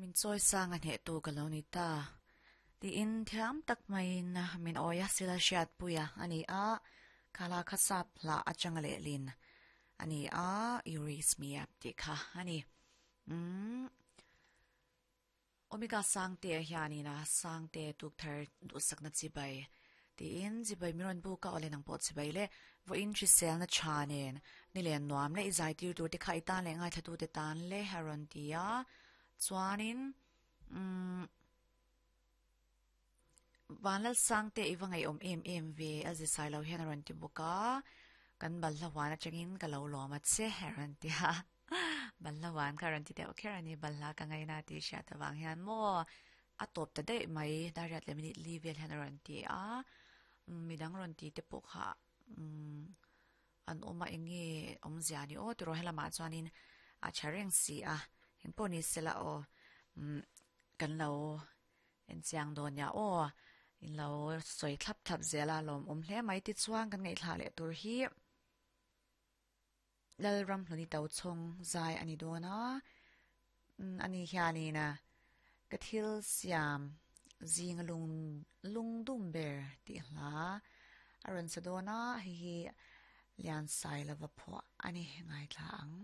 Min chawi sang a hneh tu ka lo ni ta tiin thiam tak maiin min awi a sila hriatpui a a ni a, khala kha sap hlah atanga lehlin a ni a, You Raise Me Up tih kha a ni. Umm. Omega Sangte hianin a Sangte tukthar duhsakna chibai tiin chibai min rawn buk a, awle nang pawh chibai le, vawiin hriselna tha nen ni len nuam leh i zai tir tur te kha i tan leh ngaithla te tan le a rawn ti a, chuanin umm Vanlal Sangte i va ngaihawm em em ve a zi sai lo hian a rawn ti bawk a, kan balhla huan atangin ka lo lawm a che a rawn ti a. Balhla huan kha rawn ti deuh kher a ni, balhla ka ngaina tih hriat avang hian maw a tawp ta daih mai, dariat leh minute li vel hian a rawn ti a, midang rawn ti te pawh kha an awm a eng nge awmzia ni aw tiraw helamah chuanin a tha reng si a, engpawh ni sela aw kan lo enchiang dawn nia aw, in lo sawi thlap thlap zel a lawmawm hle mai tichuan kan ngaihthlah leh tur hi. Lalramhluni Tochhawng zai a ni dawn a, ani hianin ka thil siam zinga lung lungdum ber tih hla a rawn sa dawn a, hei hi Liansailova phuah a ni ngaithla ang.